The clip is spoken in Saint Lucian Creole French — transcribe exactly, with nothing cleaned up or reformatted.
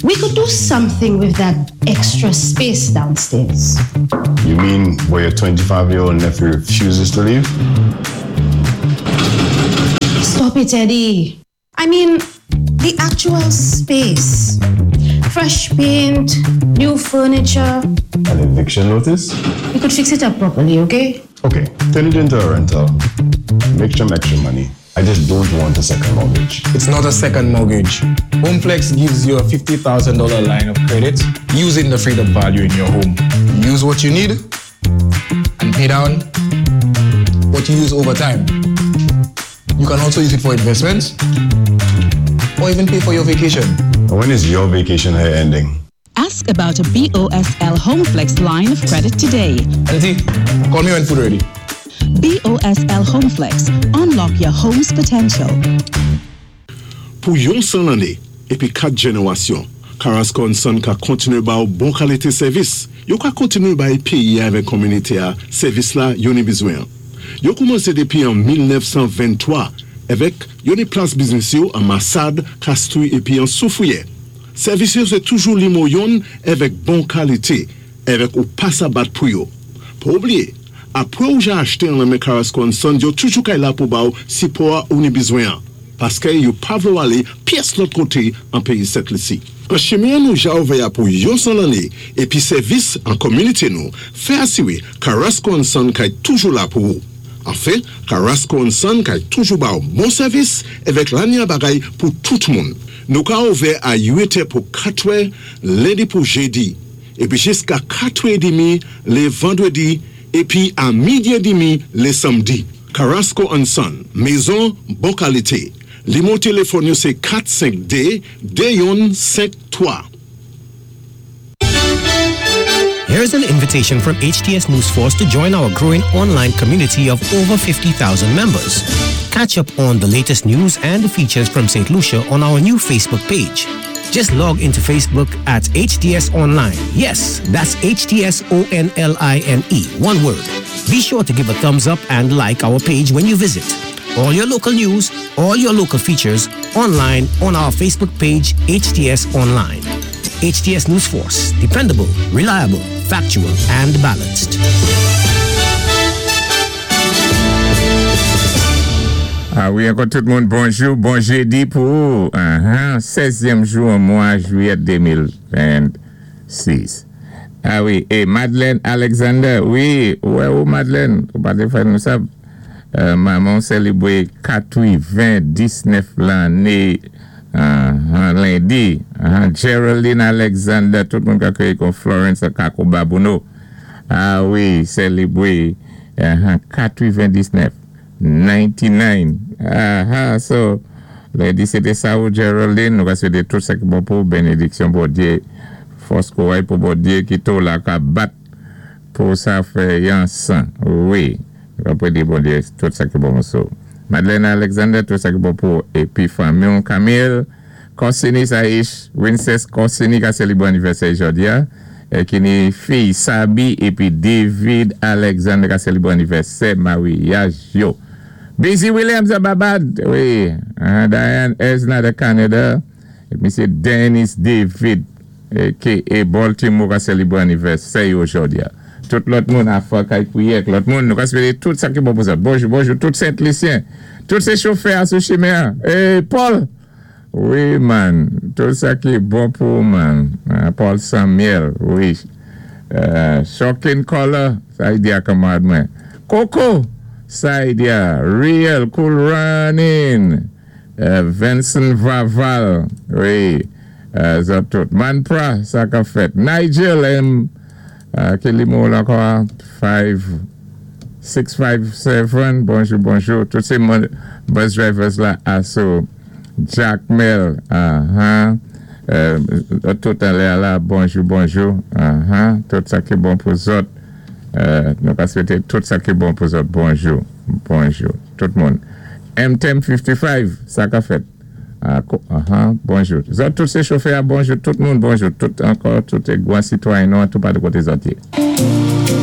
We could do something with that extra space downstairs. You mean where your twenty-five-year-old nephew refuses to leave? Stop it, Eddie. I mean, the actual space. Fresh paint, new furniture. An eviction notice? We could fix it up properly, okay? Okay, turn it into a rental. Make some extra money. I just don't want a second mortgage. It's not a second mortgage. HomeFlex gives you a fifty thousand dollar line of credit using the freed up value in your home. Use what you need and pay down what you use over time. You can also use it for investments or even pay for your vacation. When is your vacation here ending? Ask about a B O S L HomeFlex line of credit today. Auntie, call me when food ready. B O S L HomeFlex. Unlock your home's potential. Pou yon san lanné, épi kat jénéwasyon, Carasco and Son ka kontiné ba ou bon kalité sèvis. Yo ka kontiné bay péyi avèk kominité a sèvis la yo ni bizwen. Yo koumansé dépi an mil nèf san venntwa avèk yo ni plas biznis yo an Massade, Castries épi an Soufrière. Sèvis yo sé toujou nimewo youn avèk bon kalité, avèk ou pa sa bat pou yo. Pa oubliyé, apwé ou ja achté an men Carasco and Son, yo toujou kay la pou ba ou sipò ou ni bizwen an. Paské yo pa vlé ou alé pyès lòt koté an péyi Sent Lisi. An chimen nou ja ouvè a pou yon san lanné, épi sèvis an kominité nou, fè asiwé Carasco and Son kay toujou la pou ou. Anfen, Carasco and Son kay toujou ba ou bon sèvis avèk lanya bagay pou tout moun. Nou ka ouvè a uit è pou katwè, lendi pou jédi, épi jiska katwè édmi lé vandwédi, épi a midi édmi lé sanmdi. Carasco and Son, mézon bon kalité. Nimewo téléfòn yo sé kat senk dé de youn senk twa. Here's an invitation from H T S News Force to join our growing online community of over fifty thousand members. Catch up on the latest news and features from Saint Lucia on our new Facebook page. Just log into Facebook at H T S Online. Yes, that's H T S O N L I N E, one word. Be sure to give a thumbs up and like our page when you visit. All your local news, all your local features online on our Facebook page, H T S Online. H T S News Force, dependable, reliable, factual, and balanced. Ah wi, ankò tout moun, bonjou, bon jédi pou uh-huh, sèzyèm jou an mwa jwiyèt de mil vennsis. Ah wi, é Madeleine Alexander, wi, wè ou Madeleine, ou pa té fè nou sa, euh, manman sélibwé katwéven-diznèf lanné uh, lendi. Uh, Geraldine Alexander, tout moun ka kwé kon Florence Kako Babouno. Ah wi, sélibwé uh, katwéven-diznèf, ninety-nine. Ah, ah, so, lendi sé té sa ou Geraldine, nou ka swété tout sa ki bon pou bénédiksyon Bondyé, fòs kouray pou Bondyé ki to la ka bat pou sa fè yon san. Wi, nou ka pwé di Bondyé tout sa ki bon so. Madeleine Alexander, tout sa ki bon pou épi fanmi Camille, Corsini Saish, Princess Corsini ka sélibwé anivèsè jòdi a, é ki ni fi Sabi épi David Alexander ka sélibwé anivèsè maryaj yo. Busy Williams a Barbad, wi, uh, Diane Esna de Canada, é Misyé Dennis David, ki é Baltimore ka sélibwé anivèsè yo jòdi a. Tout lòt moun a fwa kay kwiyè, lòt moun, nou ka swété tout sa ki bon pou sa. Bonjou, bonjou, tout Sent Lisyen, tout sé chofè a sou chimen. É Paul, wi man, tout sa ki bon pou man. Paul Samuel, wi. Uh, Shocking Color, sa y di a kanmarad mwen. Coco, sa y di a, Real Cool Running. Uh, Vincent Vaval, wi. Uh, zòt tout. Manpra, sa ka fèt. Nigel M. Uh, ki nimewo la ankò? five, six, five, seven. Bonjou, bonjou. Tout sé moun bus drivers la aso. Jack Mel, uh-huh. Euh, tout anlè la, bonjou, bonjou. Uh-huh. Tout sa ki bon pou zòt. Euh, nou ka swété tout sa ki bon pou zòt. Bonjou, bonjou. Tout moun. M ten fennsenk, sa ka fèt. Ah, uh-huh, bonjou. Zòt tout sé chofè, bonjou. Tout moun, bonjou. Tout ankò, tout gwan sitwayen nou, tout pa de koté zòt yé.